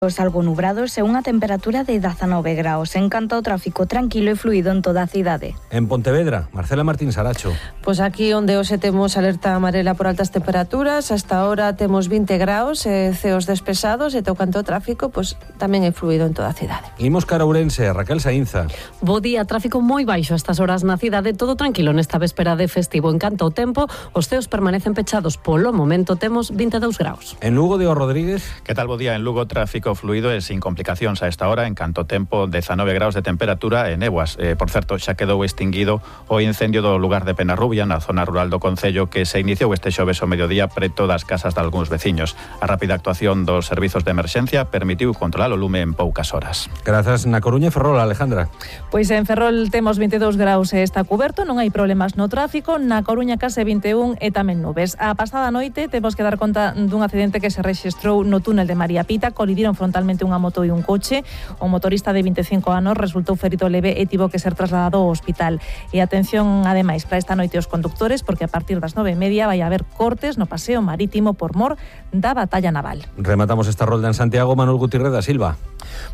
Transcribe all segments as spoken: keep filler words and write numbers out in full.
Algo nubrados e unha temperatura de dezanove graus. En canto ao tráfico tranquilo e fluido en toda a cidade. En Pontevedra, Marcela Martín Saracho. Pois aquí onde hoxe temos alerta amarela por altas temperaturas, hasta ahora temos vinte graus, e ceos despesados, e teu canto ao tráfico, pois tamén é fluido en toda a cidade. Imos cara a Ourense, Raquel Saínza. Bo día, tráfico moi baixo a estas horas na cidade, todo tranquilo nesta véspera de festivo. En canto ao tempo, os ceos permanecen pechados. Polo momento temos vinte e dous graus. En Lugo, Diego Rodríguez. Que tal, bo día? En Lugo, tráfico fluido e sin complicacións a esta hora. En canto tempo, dezanove graus de temperatura e néboas. Eh, por certo, xa quedou extinguido o incendio do lugar de Penarrubia, na zona rural do concello, que se iniciou este xoves ao mediodía preto das casas de algúns veciños. A rápida actuación dos servizos de emerxencia permitiu controlar o lume en poucas horas. Grazas. Na Coruña e Ferrol, Alejandra. Pois en Ferrol temos vinte e dous graus e está cuberto, non hai problemas no tráfico. Na Coruña case vinte e un e tamén nubes. A pasada noite temos que dar conta dun accidente que se rexistrou no túnel de María Pita. Colidiron frontalmente unha moto e un coche. O motorista de vinte e cinco anos resultou ferido leve e tivo que ser trasladado ao hospital. E atención, ademais, para esta noite os conductores, porque a partir das nove e media vai haber cortes no paseo marítimo por mor da batalla naval. Rematamos esta rolda en Santiago. Manuel Gutiérrez da Silva.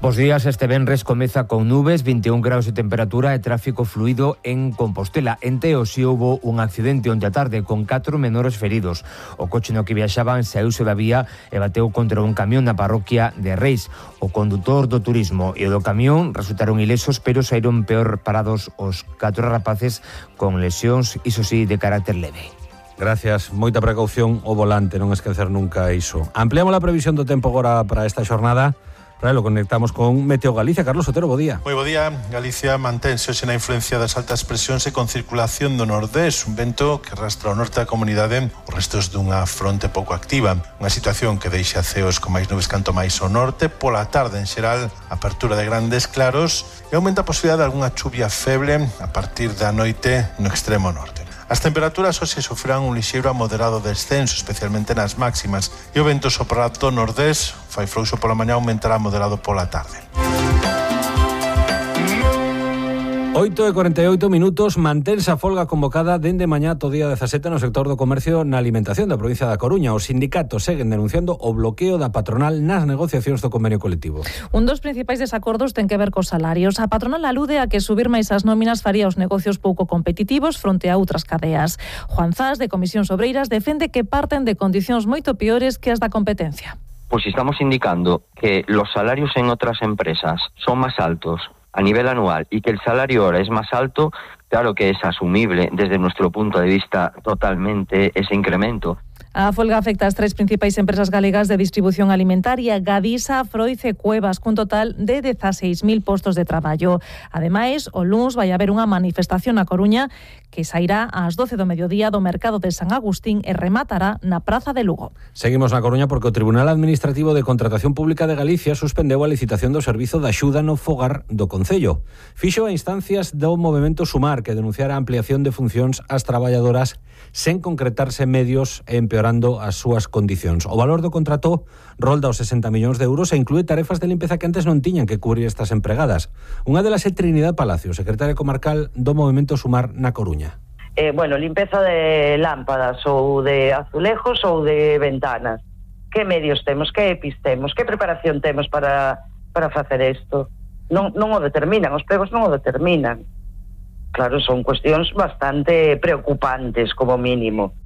Bos días, este venres comeza con nubes, vinte e un graus de temperatura e tráfico fluido en Compostela. En Teo si houbo un accidente onte a tarde con catro menores feridos. O coche no que viaxaban saíuse da vía e bateu contra un camión na parroquia de Reis. O condutor do turismo e o do camión resultaron ilesos, pero saíron peor parados os catro rapaces con lesións, iso sí, de carácter leve. Gracias, moita precaución ao volante, non esquecer nunca iso. Ampliamos a previsión do tempo agora para esta xornada. Para lo conectamos con Meteo Galicia. Carlos Otero, bo día. Moi bo día. Galicia mantense hoxe na influencia das altas presións e con circulación do nordés, un vento que arrastra ao norte da comunidade os restos dunha fronte pouco activa. Unha situación que deixa ceos con máis nubes canto máis ao norte. Pola tarde, en xeral, apertura de grandes claros e aumenta a posibilidade de algunha chuvia feble a partir da noite no extremo norte. As temperaturas hoxe sofrerán un lixeiro a moderado descenso, especialmente nas máximas, e o vento soprará do nordés, fai frouxo pola mañá, aumentará moderado pola tarde. oito e cuarenta e oito minutos, mantense a folga convocada dende mañá ata o día dezasete no sector do comercio na alimentación da provincia da Coruña. Os sindicatos seguen denunciando o bloqueo da patronal nas negociacións do convenio colectivo. Un dos principais desacordos ten que ver cos salarios. A patronal alude a que subir máis as nóminas faría os negocios pouco competitivos fronte a outras cadeas. Juan Zas, de Comisións Obreiras, defende que parten de condicións moito peores que as da competencia. Pues estamos indicando que los salarios en otras empresas son más altos a nivel anual y que el salario ahora es más alto, claro que es asumible desde nuestro punto de vista totalmente ese incremento. A folga afecta as tres principais empresas galegas de distribución alimentaria, Gadisa, Froiz e Cuevas, cun total de dezaseis mil postos de traballo. Ademais, o luns vai haber unha manifestación na Coruña que sairá ás doce do mediodía do mercado de San Agustín e rematará na Praza de Lugo. Seguimos na Coruña porque o Tribunal Administrativo de Contratación Pública de Galicia suspendeu a licitación do servizo de axuda no fogar do Concello. Fixo a instancias do movemento Sumar, que denunciara a ampliación de funcións ás traballadoras sen concretarse medios e empeorando as súas condicións. O valor do contrato rolda os sesenta millóns de euros e inclúe tarefas de limpeza que antes non tiñan que cubrir estas empregadas. Unha delas é Trinidad Palacio, secretaria comarcal do movemento Sumar na Coruña. Eh, bueno, limpeza de lámpadas ou de azulejos ou de ventanas. Que medios temos, que E P Is temos, que preparación temos para, para facer isto? Non, non o determinan, os pregos non o determinan. Claro, son cuestións bastante preocupantes, como mínimo.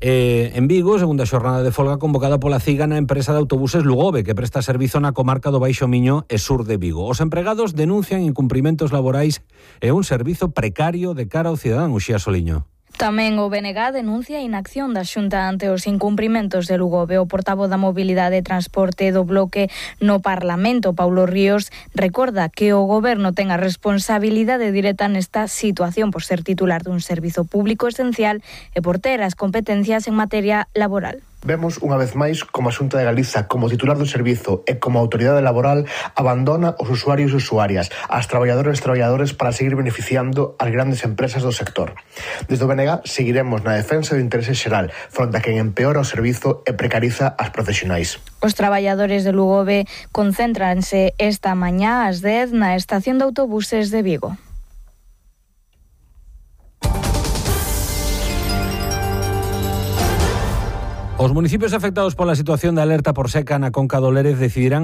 Eh, en Vigo, segunda xornada de folga convocada pola CIGA na empresa de autobuses Lugove, que presta servizo na comarca do Baixo Miño e sur de Vigo. Os empregados denuncian incumprimentos laborais e un servizo precario de cara ao cidadán. Uxía Soliño. Tamén o B N G denuncia a inacción da Xunta ante os incumprimentos de Lugove. O portavoz da Mobilidade e Transporte do Bloque no Parlamento, Paulo Ríos, recorda que o Goberno ten a responsabilidade directa nesta situación por ser titular dun servizo público esencial e por ter as competencias en materia laboral. Vemos unha vez máis como a Xunta de Galiza, como titular do servizo e como autoridade laboral, abandona os usuarios e usuarias, as traballadoras e traballadores para seguir beneficiando as grandes empresas do sector. Desde o B N G seguiremos na defensa do interese xeral, fronte a quen empeora o servizo e precariza as profesionais. Os traballadores de Lugove concéntranse esta mañá ás dez na estación de autobuses de Vigo. Os municipios afectados pola situación de alerta por seca na Conca do Lérez decidirán